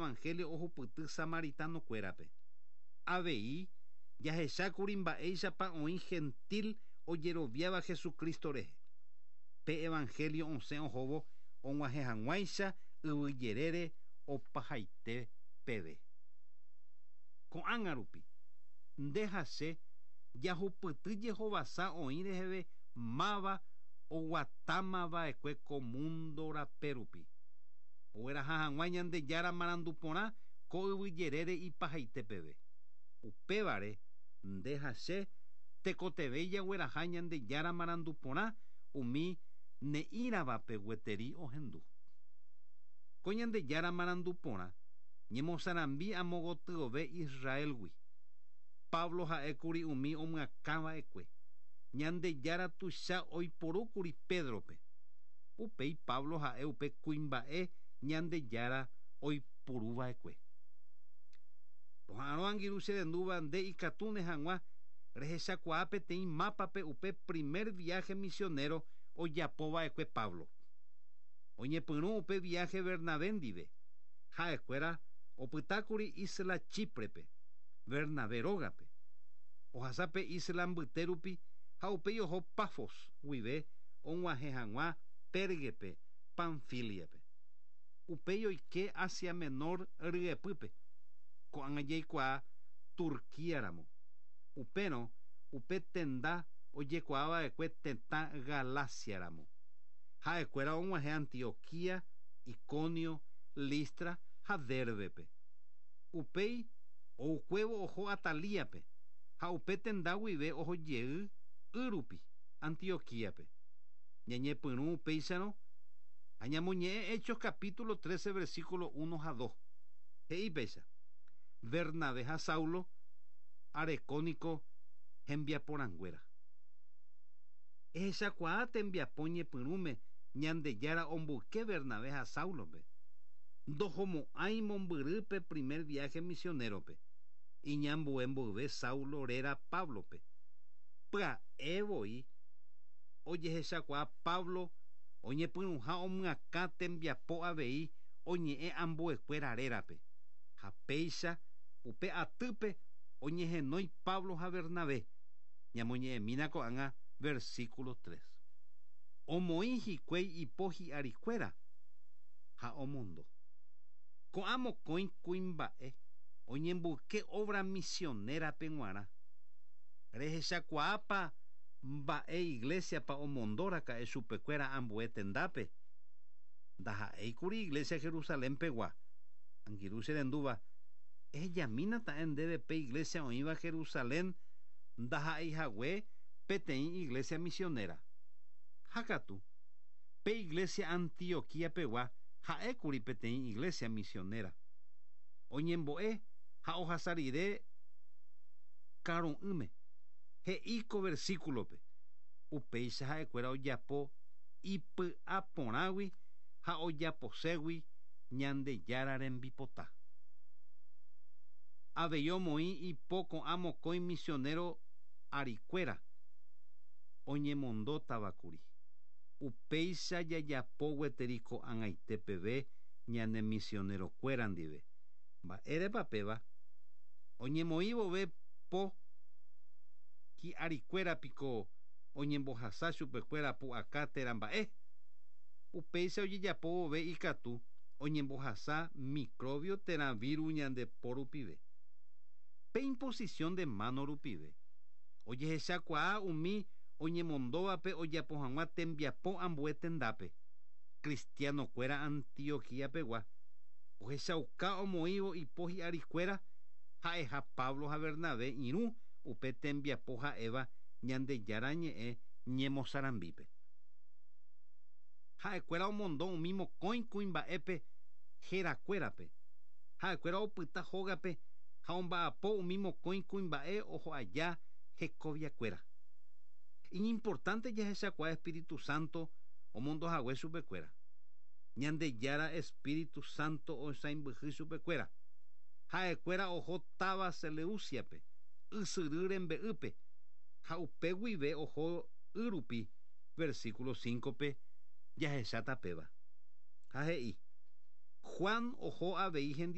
evangelio ohupyty samaritano-kuérape. Avei, jahechákuri mba'éichapa oĩ gentil ojeroviáva Jesucristo rehe. Pe evangelio osẽ ohóvo og̃uahẽ hag̃uáicha yvy jerére opahaite peve. Ko'ág̃a rupi, nde ha che jahupyty jehovasa oĩ reheve máva oguatámava'ekue ko mundo rape rupi, ogueraha hag̃ua Ñandejára marandu porã ko yvy jerére ipahaite peve. Upévare, nde ha che tekotevẽ jagueraha Ñandejára marandu porã umi ne'ĩravape gueteri ohendu. Ko Ñandejára marandu porã ñemosarambi amo gotyove Israel-gui. Pablo ha'ékuri umi omyakãva'ekue. Ñandejára tuicha oiporúkuri Pedro-pe. Upéi Pablo ha'e upe kuimba'e Ñandejára oipuruva'ekue. Roha'arõ angirũ che rendúva nde ikatúne hag̃ua rehechakuaa peteĩ mápape upe primer viáhe misionero ojapova'ekue Pablo. Oñepyrũ upe viáhe Bernabé ndive. Ha'ekuéra opytákuri ísla Chíprepe, Bernabé rógape. Ohasa pe ísla mbyte rupi ha upéi oho Pafos guive og̃uahẽ hag̃ua Pérgepe, Panfíliape. Upéi oike Asia Menor ryepýpe, ko'ág̃a jaikuaa Turquía ramo. Upérõ upe tenda ojekuaa va'ekue tetã Galacia ramo. Ha'ekuéra og̃uahẽ Antioquía, Iconio, Listra ha Dérbepe. Upéi oukuévo oho Atalíape ha upe tenda guive oho jey y rupi Antioquíape. Ñañepyrũ upéicharõ ha ñamoñe'ẽ Hechos capítulo 13 versículo 1 ha 2. He'i péicha, Bernabé ha Saulo areko niko hembiaporãnguéra. Ehechakuaa tembiapo ñepyrũme Ñandejára omboyke Bernabé ha Sáulope. Ndohomo'ãi mombyry pe primer viáhe misionérope, iñambue mboyve Saulo réra Páblope. Pya'e voi ojehechakuaa Pablo oñepyrũha omyakã tembiapo avei oñe'ẽ ambuekuéra rérape, ha péicha upe atýpe oñehenói Pablo ha Bernabé. Ñamoñe'ẽmína ko'ág̃a versículo 3. Omoĩ hikuái ipo hi'arikuéra ha omondo. Ko'ã mokõi kuimba'e oñemboyke obra misionera-pe g̃uarã. Rehechakuaápa mba'e iglésiapa omondo raka'e chupekuéra ambue tendápe? Ndaha'éikuri iglésia Jerusalén pegua. Angirũ che rendúva, ehejamína ta'e ndéve pe iglésia oĩva Jerusalén ndaha'eihague peteĩ iglésia misionera. Ha katu, pe iglésia Antioquía pegua ha'ékuri peteĩ iglésia misionera. Oñembo'e ha ohasa rire karu'ỹme, he'i ko versículope, Upéicha ha'ekuéra ojapo ipy'a porãgui ha ojaposégui Ñandejára rembipota. Avei omoĩ ipo ko'ã mokõi misionero arikuéra oñemondótavakuri. Upéicha jajapo gueteri ko'ag̃aite peve ñane misionerokuéra ndive. Mba'érepa péva? Oñemoĩ vove po hi'arikuéra piko oñembohasa chupekuéra pu'aka térã mba'e? Upéicha ojejapo vove ikatu oñembohasa microbio térã víru ñande po rupive. Pe imposición de mano rupive, ojehechakuaa umi oñemondóvape ojapo hag̃ua tembiapo ambue tendápe, cristiano-kuéra Antioquía pegua, ohechauka omoĩvo ipo hi'arikuéra ha'eha Pablo ha Bernabé irũ upe tembiapo ha'éva Ñandejára Ñe'ẽ ñemosarambípe. Ha'ekuéra omondo umi mokõi kuimba'épe herakuérape. Ha'ekuéra opyta hógape ha omba'apo umi mokõi kuimba'e oho aja hekoviakuéra. Iñimportánte jahechakuaa espíritu sánto omondo hague chupekuéra. Ñandejára espíritu sánto osãimbyhy chupekuéra. Ha'ekuéra oho táva Seleúciape, ysyry rembe'ýpe, ha upe guive oho y rupi, versículo 5-pe jahecháta péva. Ha he'i, Juan oho avei hendive.